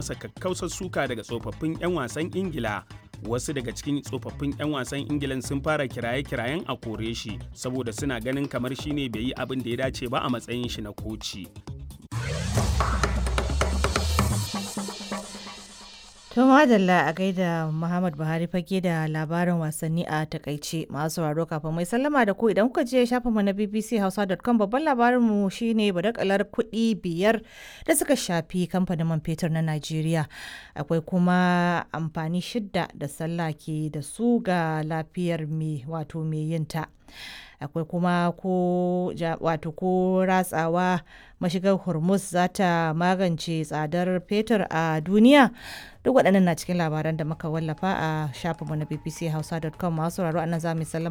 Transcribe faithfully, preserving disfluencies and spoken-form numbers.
masa kakkausar suka daga tsofaffin 'yan wasan Ingila. Wasu daga cikin tsofaffin 'yan wasan Ingilan sun fara kiraye-kirayen a kore shi saboda suna ganin kamar shine bai yi abin da ya dace ba a matsayin shi na koci. To madalla a gaida Muhammad Buhari fage da labarin wasanni a takaice masu sauraro kafin mai sallama da ku idan kuka je shafinmu na bbchausa.com babban labarinmu shine badakalar kuɗi biyar da suka shafi kamfanin man fetur na Najeriya. Akwai kuma amfani shidda da sallah ke da su ga lafiyar mai wato mai yinta. Akwai kuma ko wato ko ratsawa mashigar Hormuz za ta magance tsadar fetur a duniya. Duk waɗannan na cikin labaran da muka wallafa a shafinmu na bbchausa.com masu sauraro anan za mu sallama.